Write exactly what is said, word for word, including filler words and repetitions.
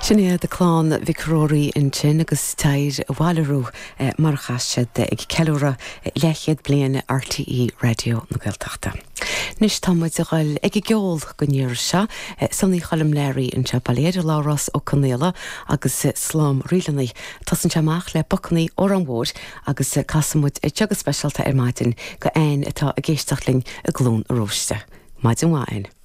Sin iad clann Mhic Ruairí ansin agus Téir Abhaile Arú mar a chas siad ag ceiliúradh leathchéad bliain RTÉ Raidió na Gaeltachta. Anois tá muid ag dul ag an gceol don iarraidh seo, Sonaí Choilm Learaí anseo bailithe ar Labhrás Ó Conaola agus Slám Ríleanna. Tosaíonn sé amach le Bacannaí Órán Mhóir agus casann muid é go speisialta ar maidin do Ann atá ag éisteacht linn i gCluain Róiste. Maidin mhaith.